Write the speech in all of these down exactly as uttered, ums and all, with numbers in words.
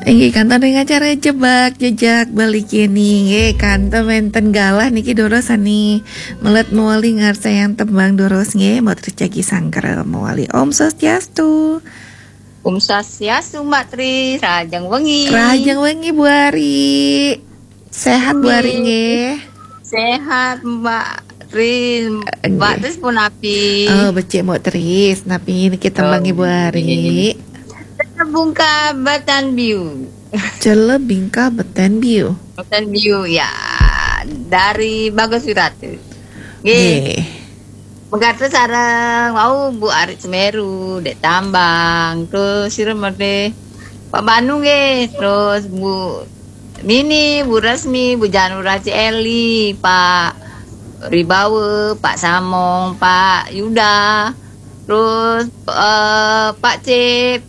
Inggih, kantun ring acara Jebak Jejak Bali kini. Inggih, kantun wénten galah niki durus sami melet mawali ngarsayang tembang durus nggih, Mbok Tris jagi sanggra mawali. Om Swastiastu. Om Swastiastu, Mbak Tris, rahajeng wengi. Rahajeng wengi, Bu Ari. Sehat, Bu Ari, nggih. Sehat, Mbak Tris. Mbak Tris punapi? Oh, becik, Mbok Tris. Napi niki tembang Ibu Ari? Celebungka Beten Biu. Celebingka Beten Biu. Beten Biu, ya. Dari Bagus Wirata. Nggih. Nggih. Megatus sareng wau Bu Ari Semeru, Dek Tambang, terus sira mrene Pak Banu nggih, terus Bu Mini, Bu Resmi, Bu Janura, Ci Eli, Pak Ribawa, Pak Samong, Pak Yuda, terus eh, Pak Cip,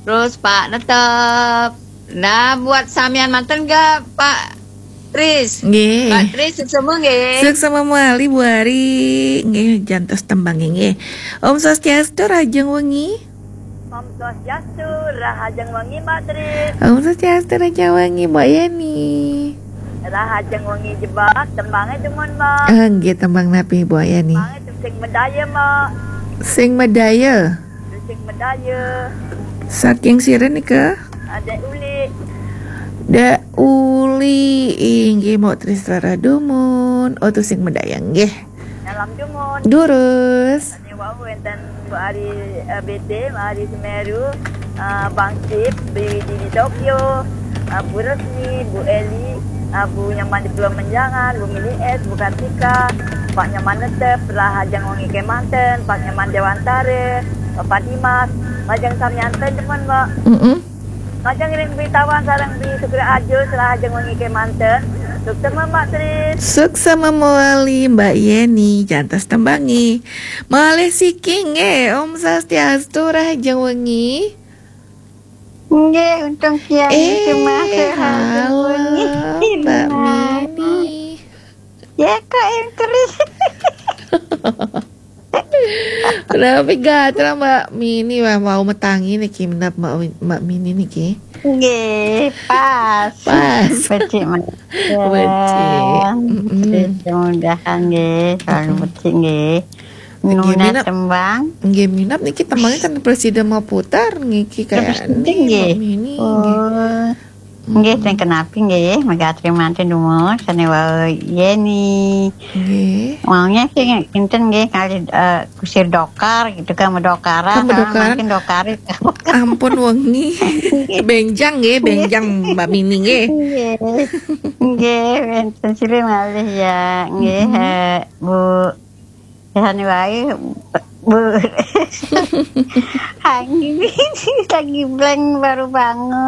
terus Pak Netep. Nah, buat samian manten nggih, Pak Tris? Nggih. Pak Tris, suksma nggih. Suksma mawali, Bu Ari. Nggih, jantos tembang nggih. Om Swastiastu, rahajeng wengi. Om Swastiastu, rahajeng wengi, Mbak Tris. Om Swastiastu, rahajeng wengi, Mbok Yeni. Rahajeng wengi Jebak, tembange dumun, Mbak. Eh, nggih, tembang napi, Mbok Yeni? Tembange Sing Medaya, Mbak. Sing Medaya. Sing Medaya. Saking sira nika? Dek Uli. Dek Uli, inggih, Mbok Tris rarah dumun. Oh, Tusing Medaya nggih. Nyalam dumun. Durus. Sane wau wenten Bu Ari, eh, B T, Bu Ari Semeru, eh, Bang Cip, B W D di Tokyo, eh, Bu Resmi, Bu Eli, eh, Bu Nyaman di Pulau Menjangan, Bu Mili S, Bu Kartika, Pak Nyaman Netep, rahajeng wengi kemanten, Pak Nyaman Dewantara, Bapak Dimas, lajeng samian ten, teman, Mbak. Mm-mm. Lajeng ring Bli Tawang sareng Bli Sukra Ajo, rahajeng wengi kemanten. Suksma, Mbak Tris. Suksma mawali, Mbak Yeni, jantos tembange. Malih siki nggih, Om Swastiastu, rahajeng wengi. Nggih, untung kiai. Eh, halo, Mbak Mini. Ya, kok yang terus. Kenapa gatel, Mbak Mini? Wah, mau metangi niki, minap Mbak, Mbak Mini niki. Nggih, pas. Pas. Becik, Mbak. Becik. Mm-mm. Mudah-mudahan nggih, selalu becik nggih. Nggih, nuna minap tembang. Nggih, minap niki tembangnya kan presiden mau putar niki. Terus kayaknya penting nggih. Mbak Mini, nggih. Oh. Nggih, sing kenapi nggih, megatri manten dumun, sane wau Yeni. Nggih. Maunya sing kinten nggih, kali, eh, kusir dokar gitu kan, medokaran, kan medokaran. Makin dokari. Ampun wengi. Benjang nggih, benjang Mbak Mini nggih. Nggih. Nggih, wenten sira malih ya. Nggih, eh, Bu. Sane wae, Bu. Hangi, lagi blank, baru bangun.